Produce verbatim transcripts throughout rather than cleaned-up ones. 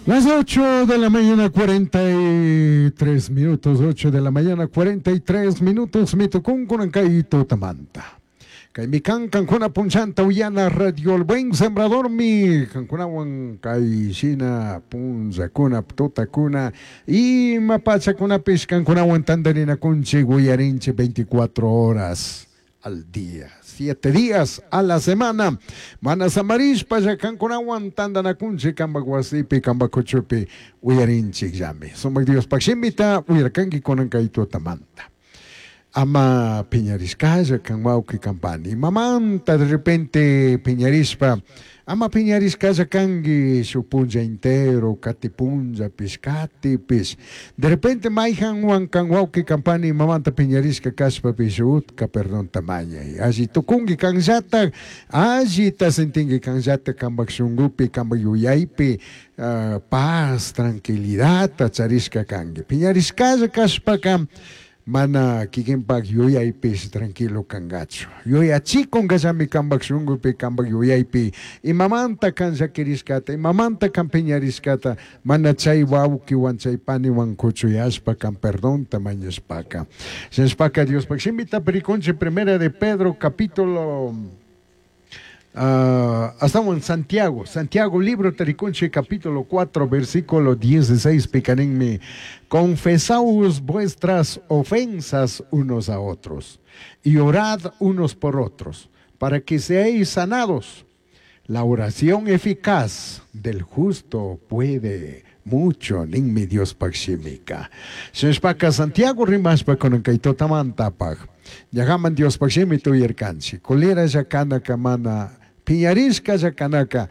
Las ocho de la mañana cuarenta y tres minutos, ocho de la mañana cuarenta y tres minutos, mi tucun kay tutamanta. Kay mi kan kankuna punchanta uyana Radio El Buen Sembrador mi kankunawan kay shina punllakuna tutakuna ima pachakunapis kankunawan tandarinakunchik uyarinchik veinticuatro horas al día, siete días a la semana. Mana samarishpa kankunawan tandanakunchik kampak wasipi, kampak kuchupi uyarinchik llami. Sumak Diospaj shimita uyarkanki kunan kay tutamanta. Ama piñarishkalla kan wawqi kan pani. Mamanta de repente piñarishpa, ama piñarishkalla kanki shuk punlla entero, kati punllapish, katipish. De repente mayhanwan kan wawqi kan pani mamanta piñarishka kashpapish utka perdonta mañay. Alli tukunki kanllatak, allita sentinki kanllatak kampak shunkupi, kampak yuyaypi, uh, paz, tranquilidad charishka kanki. Piñarishkalla kashpaka mana kikinpak yuyaypish tranquilo kangachu. Yuyachikunkallami kampak shunkupi, kampak yuyaypi, imamanta kan llakirishkata, imamanta kan piñarishkata, mana chay wawkiwan chay paniwan kuchuyashpa kan perdonta mañashpaka. Shinashpaka Diospaj shimita rikunchik Primera de Pedro capítulo Uh, estamos en Santiago, Santiago libro ta rikunchik capítulo cuatro versículo dieciséis picaninmi, confesaos vuestras ofensas unos a otros y orad unos por otros para que seáis sanados. La oración eficaz del justo puede mucho ninmi Diospaj shimika. Shinashpaka Santiago rimashpa kunan kay tutamantapaj. Ñajaman Diospaj shimita uyarkanchik. Culera kanaka mana piñarishka kanaka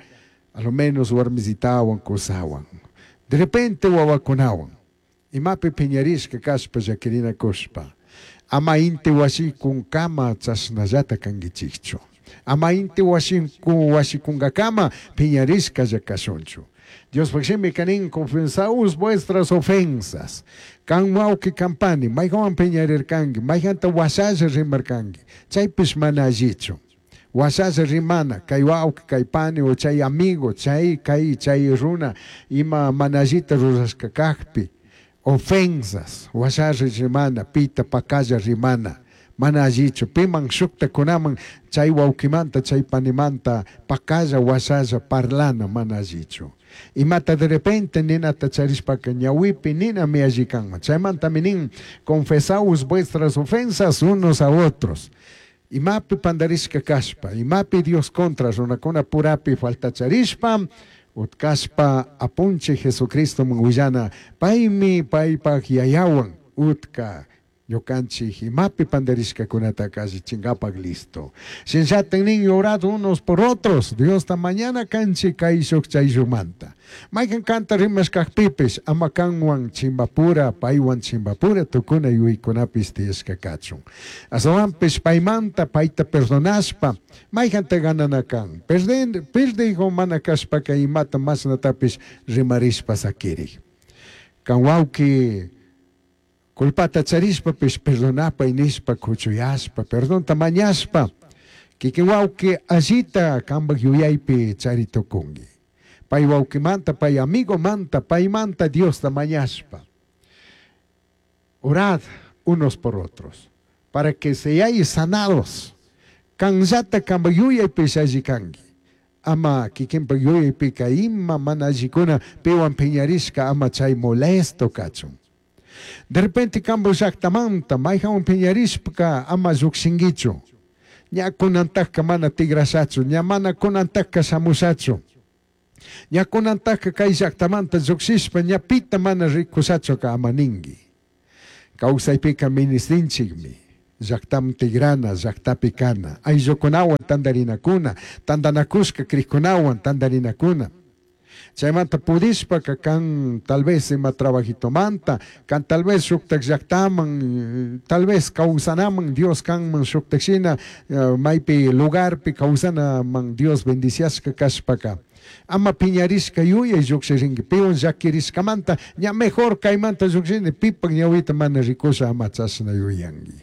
a lo menos warmisitawan kusawan. De repente wawakunawan. Imapi piñarishka kashpa llakirinakushpa. Ama inti washikunkama chashnallata kankichikchu. Ama inti washinku washikunkakama piñarishka kashunchu. Diospaj shimika nin, confesaos vuestras ofensas. Kan wawqi kan pani, mayhanwan piñarirkanki, mayhanta washalla rimarkanki. Chaypish mana allichu. Washalla rimana, kay wawqi, kay pani, o chay amigo, chay kay chay runa, ima mana allita rurashka kakpi. Ofensas, washalla rimana, pita pakalla rimana. Mana allichu, piman shuktakunaman chay wawqimanta, chay panimanta, pakalla washalla parlana mana allichu. Imata de repente ninata charishpaka ñawipi ninami alli kanman. Chaymantami nin, confesaos vuestras ofensas unos a otros. Imapi pandarishka kashpa, imapi Dios contra runakuna purapi falta charishpa, utkashpa apunchik Jesucristo willana, paymi paypaj yayawan utka ñukanchik imapi pandarishkakunata allichinkapak listo. Shinllatak nin orad unos por otros. Diosta mañana kanchik kayshuk chayshukmanta. Maykan kanta rimashkakpipish ama kanwan chimbapura, paywan chimbapura tukuna yuyaykunapis tiyashka kachun. Ashtawanpish paymanta payta perdonashpa, mayjanta ganana kan. Perden, perdigo mana kashpaka imata mashnatapish rimarishpa sakirik. Kan wawki culpata charishpapish perdonapay nishpa kuchuyashpa, perdonta mañashpa, kikin wawki allita kampak yuyaypi chari tukunki. Pay wawkimanta, pay amigomanta, paymanta Diosta mañashpa. Orad unos por otros, para que seáis sanados. Kanllata kampak yuyaypish alli kanki. Ama kikinpak yuyaypika ima mana allikuna piwan piñarishka ama chay molesto kachun. De repente kampak llaktamanta mayhanwan piñarishpaka ama llukshinkichu. Ña kunantakka mana tigrashachu, ña mana kunantakka shamushachu. Ña kunantakka kay llaktamanta llukshishpa ña pita mana rikushachuka ama ninki. Kawsaypika ministinchikmi. Llaktaman tigrana, llaktapi kana. Ayllukunawan tandarinakuna, tandanakushka krikunawan tandarinakuna. Chaymanta pudishpaka kan tal vez ima trabajitomanta, kan tal vez shuktak llaktaman, tal vez kawsanaman Dios kanman shuktak shina, eh, maypi lugarpi kawsanaman Dios bendiciashka kashpaka. Ama piñarishka yuyay llukshirinki, piwan llakirishkamanta, ña mejor kaymanta llukshini, pipak ñawita mana rikusha ama chashna yuyanki.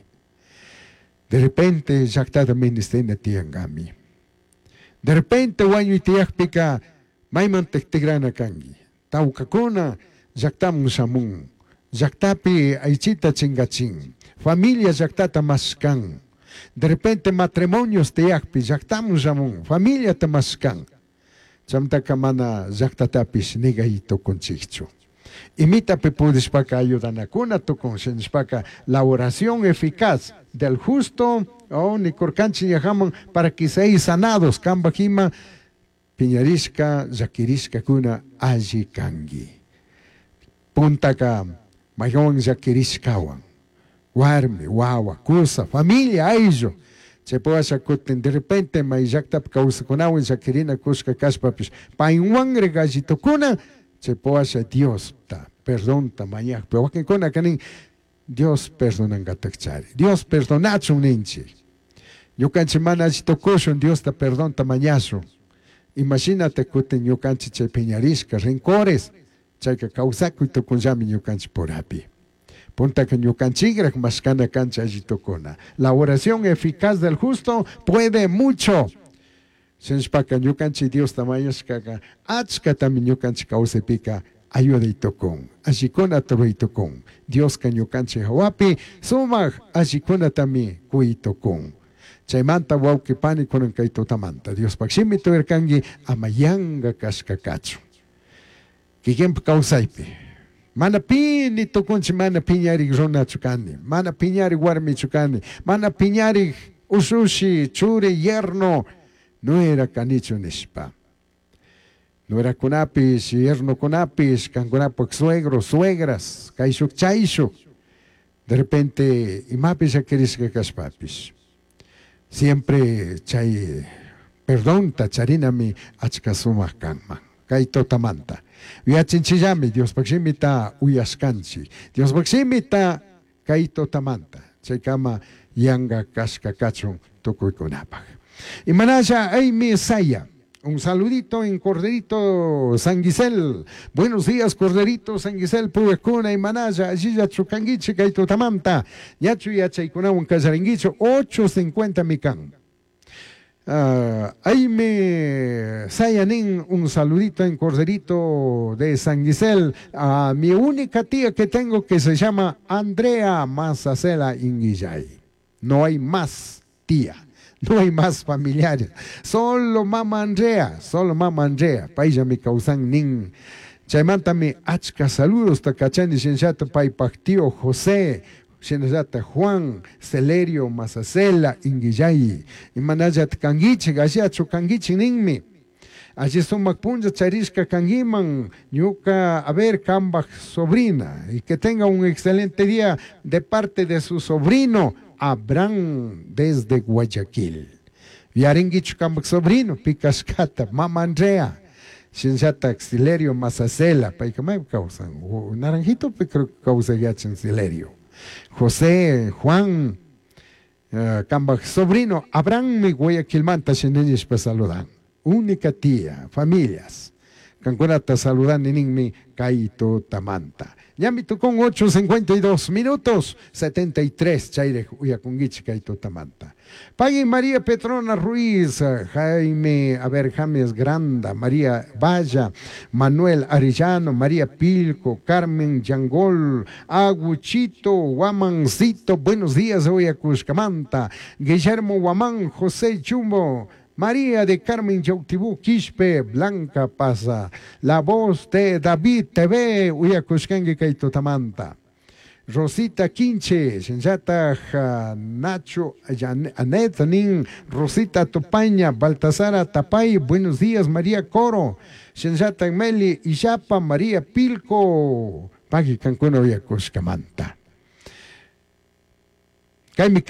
De repente llaktata ministina tiyankami. De repente wañuy tiyakpika maymantak tigrana kanki. Tawkakuna llaktamun shamun. Llaktapi aychita chingachin. Familia llaktata mashkan. De repente matrimonios tiyakpi llaktamun shamun. Familiata mashkan. Chamtaka mana llaktatapish nigay tukunchikchu. Imitapi pudishpaka ayudanakuna tukun shinishpaka la oración eficaz del justo oh, nikurkanchik ñajaman para que seáis sanados kambaj ima piñarishka llakirishkakuna alli kanki. Puntaka maywan llakirishkawan warmi wawa kusa familia ayllu chaypawasha kutin de repente may llaktapi kawsakunawan llakirina kushka kashpapish paywanri gallitukuna chaypawasha Diosta perdonta mañakpi wakinkunaka nin Dios perdonankatakchari Dios perdonachun ninchik ñukanchik mana alli tukushun Diosta perdonta mañashun imashinata kutin ñukanchik chay piñarishka rencores chayka kawsakuy tukunllami ñukanchik purapi puntaka ñukanchikrak mashkana kanchik alli tukuna. La oración eficaz del justo puede mucho. Shinashpaka ñukanchik Diosta mañashkaka achkatami ñukanchik kawsaypika ayuday tukun allikunata ruray tukun Dioska ñukanchik hawapi sumak allikunatami kuy tukun. Chaymanta wawqi pani kunan kay tutamanta Diospaq shimi tuyarkanki ama yanka kashka kachun kikinpa kawsaypi mana pi ni tukunchik mana piñarik runachu kani mana piñarik warmichu kani mana piñarik ushushi churi yerno no era kanichu nishpa. Nuerakunapish yernokunapish kankunapak suegros suegras kayshuk chayshuk de repente imapish llakirishka kashpapish siempre chay perdonta charinami achka sumak kanman kay tutamanta yachinchillami Diospaq shimita uyashkanchik Diospaq shimita kay tutamanta chaykama yanka kashka kachun tukuykunapaq. Imanasha Amy Saya, un saludito en Corderito San Gisel. Buenos días, Corderito San Gisel, Puekuna y Manaya, allí chukanguichi, kay tutamanta. Yachu yachaykunawan kallaringuicho, ocho cincuenta mikan. Uh, Aime Sayanin, un saludito en Corderito de San Gisel a mi única tía que tengo que se llama Andrea Mazacela Inguillay. No hay más tía, no hay más familiares. Solo mamá Andrea, solo mamá Andrea. Pailla mi causan nin. Chaymantami achka saludos takachani shinshata paypaj tío José, shinallata Juan, Celerio, Mazacela, Inguillay. Imanallat kanguichik, ashachu kanguichik ninmi. Allí sumak punlla charishka kanguiman, ñuka, a ver, kambaj sobrina. Y que tenga un excelente día de parte de su sobrino, Abraham, desde Guayaquil. Yaringuichu kambaj sobrino, Picascata, Mama Andrea. Shinshata Xilerio Mazacela, payka may kawsan, naranjito creo que kawsa yachan Xilerio. José, Juan, uh, kambaj sobrino, Abraham mi Guayaquilmanta shinenishpa saludan. Única tía, familias. Kankunata saludan ninmi kaito tamanta. Ñami tukun ocho cincuenta y dos minutos, setenta y tres, chaire uyakunguichi kaito tamanta. Pagui María Petrona Ruiz, Jaime, a ver, James Granda, María Valla, Manuel Arellano, María Pilco, Carmen Yangol, Aguchito, Guamancito, buenos días, Uyacushcamanta, Guillermo Guamán, José Chumbo, María de Carmen Yautibú, Quispe, Blanca Pasa, la voz de David T V, Uyacushcangue Kaito Tamanta. Rosita Quinche, Shinshata Nacho, Anet Nin, Rosita Tupaña, Baltasara Tapay, buenos días, María Coro, Shinshata Meli, Iyapa, María Pilco, Pagui Cancún, Uyacushcamanta. Kaymi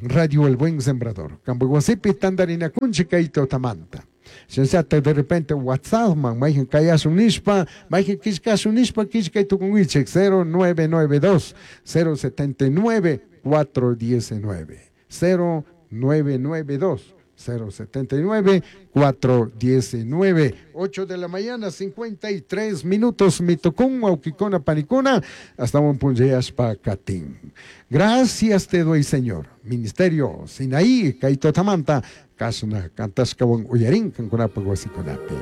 Radio El Buen Sembrador. Kambuguasipi tandarina kunchi kaito tamanta. Shinshata de repente WhatsApp man, mayhan kayasun nishpa, mayhan kishkasun nishpa, kishkay tukunwichik, cero nueve nueve dos, cero setenta y nueve, cuatro diecinueve, cero nueve nueve dos, cero setenta y nueve, cuatro diecinueve, ocho de la mañana, cincuenta y tres minutos, mitocún, auquicona, panicona, hasta un punjeyaspa catín. Gracias te doy, Señor. Ministerio Sinaí, Kaito Tamanta, Kasuna, Cantascawan, Uyarín, Cancunapo, Guasiconapi.